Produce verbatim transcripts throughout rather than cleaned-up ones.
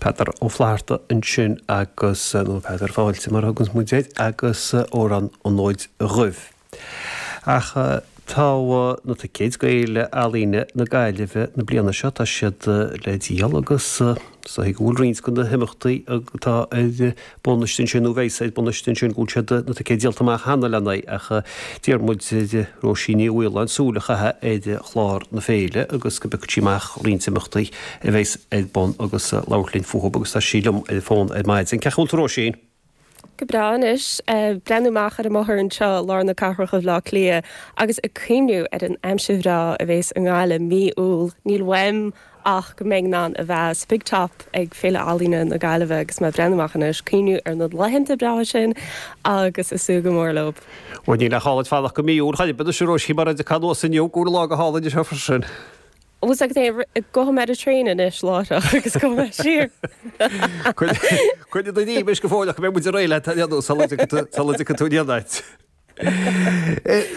Peadar Ó Flatharta ansin agus nó Peadar Fáilte mar thugann muid air agus Amhrán an Fhóid Dhuibh. Ach tá na ticéid do Fhéile Ealaíne na Gaillimhe na bliana seo tá siad le díol agus is dóigh go bhfuil roinnt de na himeachtaí atá ar bun ansin nó bheas ar bun ansin go bhfuil siad na ticéid díolta amach cheana le n-aghaidh ach d'iarr muid ar Róisín Ní Mhaoláin súil a chaitheamh ar chlár na féile agus go bpiocfadh sí amach roinnt imeachtaí a bheas ar bun agus labhairt linn fúthu agus tá sí liom ar an bhfón ar maidin. Cén chaoi a bhfuil tú Róisín? Go breá anois breathnú amach ar an mbóthar anseo lár na cathrach i mBleá Cliath agus ag cuimhniú ar an aimsir bhreá a bhéas i nGaillimh mí Iúil níl uaim ach go mbeidh in ann a bheith sa Big Top ag Féile Ealaíne na Gaillimhe agus mé breathnú amach anois cuimhniú ar na laethanta breátha sin agus ag súil go mór leo. Bhuel níl ach áit fanacht go mí Iúil chaid b'fhéidir sé Róisín mar a anuas inniu go lá go hálainn seo freisin. Bhus ag go mé a train anois láithreach agus go mé siar. Cuid do ní go fóill go mbeidh muid réidh le sula tú dhéanait.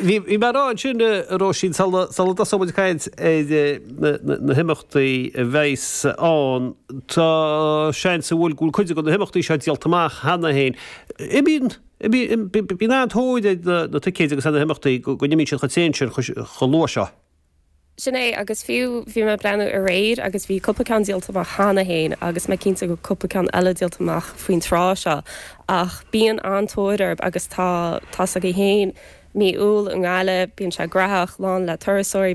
Bhí mé rá ansin Róisín sula dtosóidh muid caint ar na himeachtaí a bheas ann tá seans go bhfuil go bhfuil cuid de na himeachtaí seo díolta amach cheana féin. Bíonn bíonn an-tóir ar na ticéid agus na himeachtaí go n-imíonn siad chomh tréan sin chomh luath seo. Sin é agus fiú bhí mé breathnú aréir agus bhí cúpla ceann díolta amach cheana féin agus mé cinnte go cúpla ceann eile díolta amach faoin tráth seo ach bíonn an-tóir orthu agus tá tá againn féin mí Iúil i nGaillimh, bíonn sé graitheach lán le turasóirí